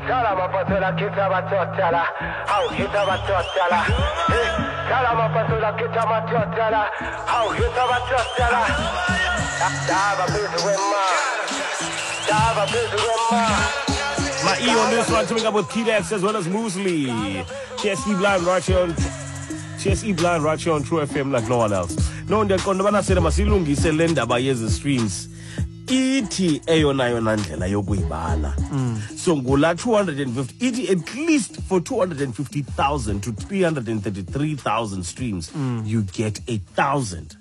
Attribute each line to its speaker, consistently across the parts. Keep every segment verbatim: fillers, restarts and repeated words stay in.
Speaker 1: Tala mapatula kita matotala. How hita matotala. Hey, tala mapatula kita matotala. How hita matotala. Daba busy with ma. Daba busy with ma.
Speaker 2: My E on this one, coming up with K-Dax as well as Mosley. T S E Blind right here on T S E Blind right here on True F M like no one else. No, ndiyaqonda ubana sele masilungise le ndaba yezi streams. Ithi eyona yona ndlela yokuyibala. So ngula two hundred and fifty, ithi at least for two hundred and fifty thousand to three hundred and thirty-three thousand streams,
Speaker 3: mm.
Speaker 2: you get a thousand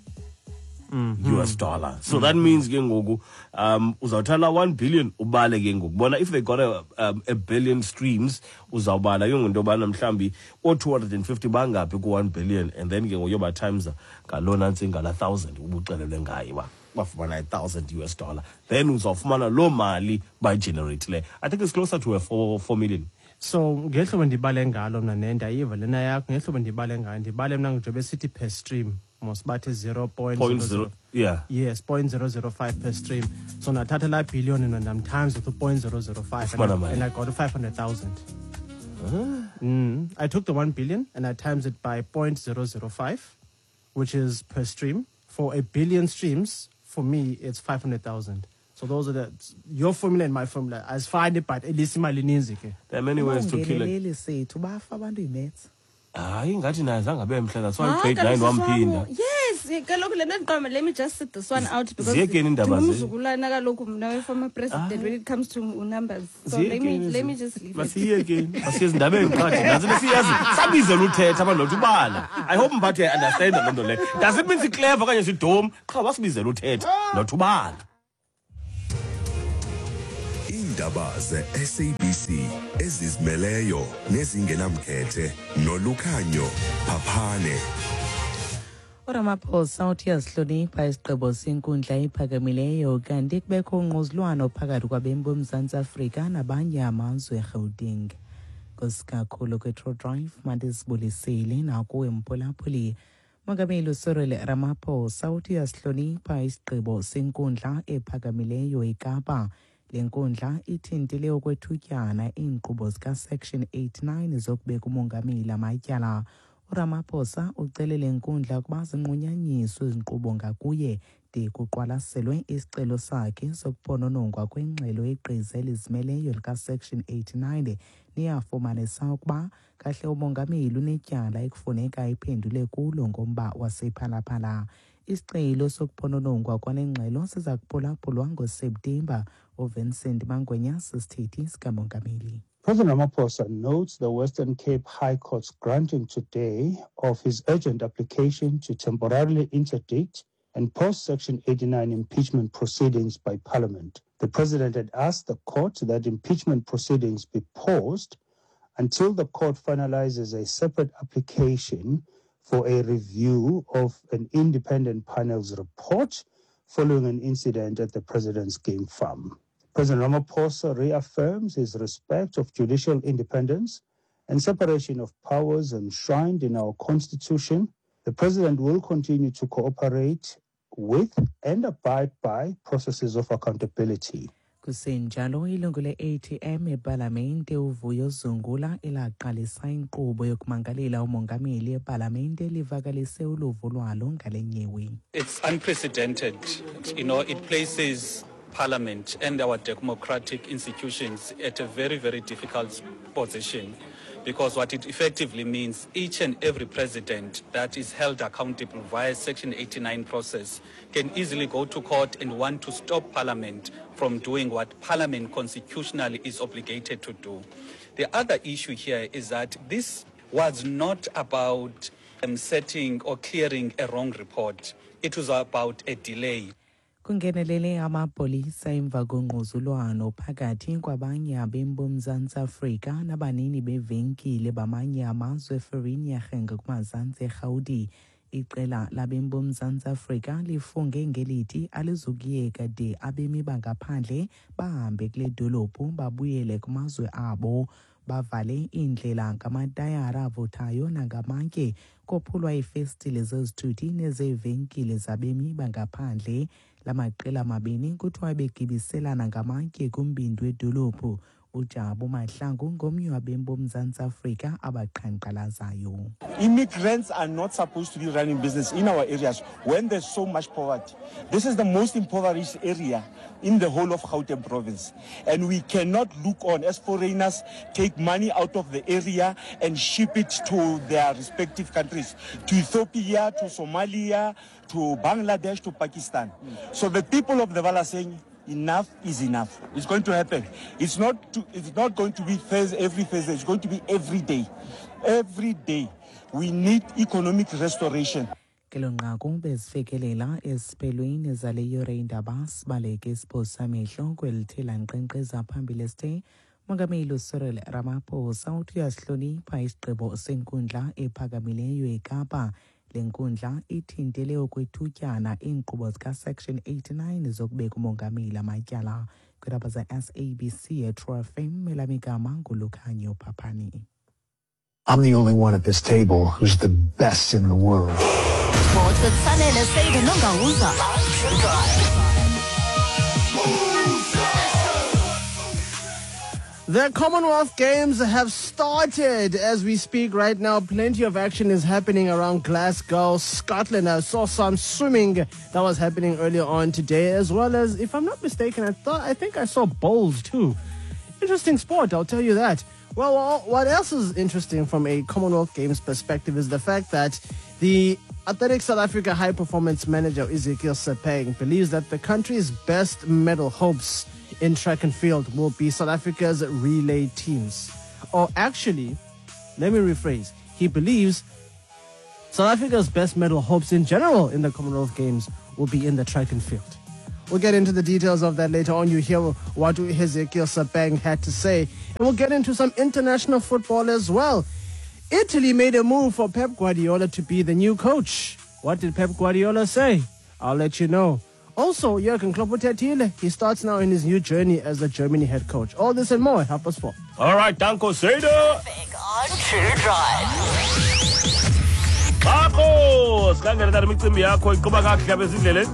Speaker 3: mm-hmm.
Speaker 2: U S dollar. So mm-hmm. that means ke ngoku um uzawuthatha one billion ubale ke ngoku. Bona if they got a um, a billion streams uzawubala ke ngoku into mhlambi o two hundred and fifty bangaphi ku one billion, and then ke ngoku yoba times ngalona ntsinga la thousand ubuxelelwe ngayo ba bafumana a thousand U S dollar. Then uzawufumana loo mali by generate le. I think it's closer to a four, four million.
Speaker 3: So ngehlobo ndibale ngalo mna nenda iva lena yakho ngehlobo ndibale ngayo ndibale mna njobe sithi per stream mos bathi zero point
Speaker 2: zero, yeah.
Speaker 3: Yes, point zero zero five per stream. So nathatha la billion and I'm times with point zero zero five and I, and I got five hundred thousand.
Speaker 2: Huh?
Speaker 3: Mm. I took the one billion and I times it by point zero zero five, which is per stream. For a billion streams, for me, it's five hundred thousand. So those are the your formula and my formula. I find it, but at least imali ininzi ke.
Speaker 2: There are many ways to kill it. Hayi ngathi naye zange abe mhle, that's why grade nine wamphinda.
Speaker 4: Yes, kaloku le nto ndiqonda, let me just sit this one out because
Speaker 2: ziyekeni indaba ze.
Speaker 4: Ndingumzukulwana kaloku mna we-former president when it comes to numbers. So let me let me just leave it.
Speaker 2: Masiyekeni, masiye ezindabeni qha nantsi siyazi sabizela uthetha abantu nothi ubala. I hope mphathi uyayi-understand loo nto leyo. Does it mean si-clever okanye sidom? Qha wasibizela uthetha nothi ubala.
Speaker 5: Iindaba ze-S A B C ezizimeleyo nezingenamkhethe nolukhanyo phaphane.
Speaker 6: uRamaphosa uthi uyazihlonipha isigqibo senkundla ephakamileyo kanti kubekho ungquzulwano phakathi kwabemi boMzantsi Afrika nabanye amazwe eGauteng. Nkosi kwe-True Drive mandisibulisele nakuwe mphulaphuli. Mongameli Cyril Ramaphosa uthi uyazihlonipha isigqibo senkundla ephakamileyo eKapa. Le nkundla ithintile okwethutyana iinkqubo zika-Section eighty-nine zokubeka umongameli amatyala. uRamaphosa ucele le nkundla ukuba zinqunyanyiswe izinkqubo ngakuye de kuqwalaselwe isicelo sakhe sokuphononongwa kwengxelo yegqiza elizimeleyo lika-Section eighty-nine neyafumanisa ukuba kahle umongameli unetyala ekufuneka iphendule kulo ngomba wasePhalaphala. Isicelo sokuphononongwa kwale ngxelo siza kuphulaphulwa ngoSeptemba. uVincent Mangwenya sisithethi sikamongameli.
Speaker 7: President Ramaphosa notes the Western Cape High Court's granting today of his urgent application to temporarily interdict and post Section eighty-nine impeachment proceedings by Parliament. The President had asked the court that impeachment proceedings be paused until the court finalizes a separate application for a review of an independent panel's report following an incident at the President's game farm. President Ramaphosa reaffirms his respect of judicial independence and separation of powers enshrined in our Constitution. The President will continue to cooperate with and abide by processes of accountability.
Speaker 6: Kusenjalo ilungu le-A T M epalamente uVuyo Zungula elaqalisa inkqubo yokumangalela umongameli epalamente livakalise uluvo lwalo ngale nyewe.
Speaker 8: It's unprecedented. You know, it places Parliament and our democratic institutions at a very, very difficult position, because what it effectively means, each and every president that is held accountable via Section eighty-nine process can easily go to court and want to stop Parliament from doing what Parliament constitutionally is obligated to do. The other issue here is that this was not about um, setting or clearing a wrong report. It was about a delay.
Speaker 6: Kungenelele amapolisa emva kongquzulwano phakathi kwabanye abemi boMzantsi Afrika nabanini bevenkile bamanye amazwe eVereeniging kumazantsi eRhawuti. Iqela labemi boMzantsi Afrika lifunge ngelithi alizukuyeka de abemi bangaphandle bahambe kule dolophu babuyele kumazwe abo. Bavale iindlela ngamatayara avuthayo nangamatye, kophulwa iifestile zezithuthi nezeevenkile zabemi bangaphandle. La maqela mabini kuthiwa begibiselana ngamatye kumbindi wedolophu. Ujabu Mahlangu ngomnye wabemi boMzantsi Afrika abaqhankqalazayo.
Speaker 9: Immigrants are not supposed to be running business in our areas when there's so much poverty. This is the most impoverished area in the whole of Gauteng province. And we cannot look on as foreigners take money out of the area and ship it to their respective countries, to Ethiopia, to Somalia, to Bangladesh, to Pakistan. So the people of the Vaal are saying, enough is enough. It's going to happen. It's not, to, it's not going to be Thursday, every Thursday. It's going to be every day. Every day. We need economic restoration.
Speaker 6: Kelo nqaku bezifikelela esiphelweni zale yure iindaba. Sibaleke isiphoso samehlo kwelithe lankqenkqeza phambili esithe Mongameli uCyril Ramaphosa uthi uyasihlonipha isigqibo senkundla ephakamileyo eKapa. Le nkundla ithintele okwethutyana iinkqubo zikaSection eighty-nine zokubeka umongameli amatyala. Kwiindaba ze-S A B C eTrue F M, elam igama nguLukhanyo Phaphani.
Speaker 10: I'm the only one at this table who's the best in the world.
Speaker 11: Sports with Sanele Seyide Nongawuza. True Drive.
Speaker 3: The Commonwealth Games have started as we speak right now. Plenty of action is happening around Glasgow, Scotland. I saw some swimming that was happening earlier on today, as well as, if I'm not mistaken, I thought I think I saw bowls too. Interesting sport, I'll tell you that. Well, what else is interesting from a Commonwealth Games perspective is the fact that the Athletics South Africa High Performance Manager Ezekiel Sepeng believes that the country's best medal hopes in track and field will be South Africa's relay teams. Or actually, let me rephrase. He believes South Africa's best medal hopes in general in the Commonwealth Games will be in the track and field. We'll get into the details of that later on. You hear what Ezekiel Sepeng had to say. And we'll get into some international football as well. Italy made a move for Pep Guardiola to be the new coach. What did Pep Guardiola say? I'll let you know. Also, Jurgen Klopp uthethile, he starts now in his new journey as the Germany head coach. All this and more. Help us for.
Speaker 2: All right, Danko Seyide.
Speaker 11: On True Drive.
Speaker 2: Bakho, sikhangele tata imicimbi yakho iqhuba kakuhle apha ezindleleni.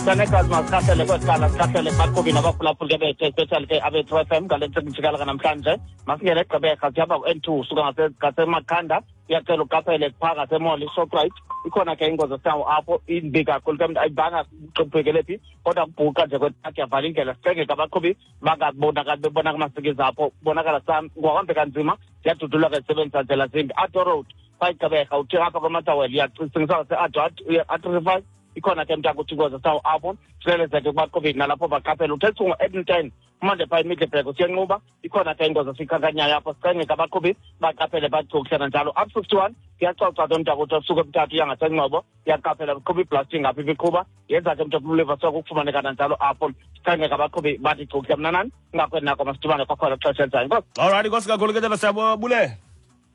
Speaker 12: Sanekazi, masikhahlele kwesikhala, sikhahlele baqhubi nabaphulaphuli ke bethu, especially ke abe-True F M ngale ntsika namhlanje. Masingene eGqeberha, sihamba ku-N two usuka ngaseMakhanda, iyacela uqaphele phaa ngasemall iShoprite, ikhona ke ingozi esinawo apho, imbi kakhulu ke, ayibanga kuqhubekele phi kodwa kubhuqa nje kwetaki yavala indlela. Sicenge ke abaqhubi bangabonakali bebona kumasikizi apho, kubonakala ngohambe kanzima, ziyadudulwa ke zisebenzisa ndlela zimbi. Addo Road phaa iGqeberha, uthi apha kwaMotherwell, iyacingisa ngase-A three five, ikhona ke mntakuthi ingozi esinawo apho, silelezeke kubaqhubi nalapho baqaphele. Uthetha ngo-Edmonton manje phaa eMiddelburg usiyanquba, ikhona ke ingozi esiyikhankanyayo apho, sicenge ke abaqhubi baqaphele bathi njalo. Up fifty-one kuyacoca ke mntakuthi usuka eMthatha uya ngaseNgcobo, iyaqaphela kuqhuba iblasting apha ibiqhuba, yenza ke mntu soke ukufumaneka nanjalo apho, sicenge ke abaqhubi bathi cukuhle. Mna nani ingakweni nako, masidibane kwakhona xesha elizayo. Enkosi.
Speaker 2: All right, inkosi kakhulu ke tata, siyabulela.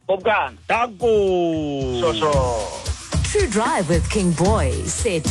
Speaker 12: Bobukana.
Speaker 2: Danko.
Speaker 12: Sho sho.
Speaker 11: True Drive with King Boy. Set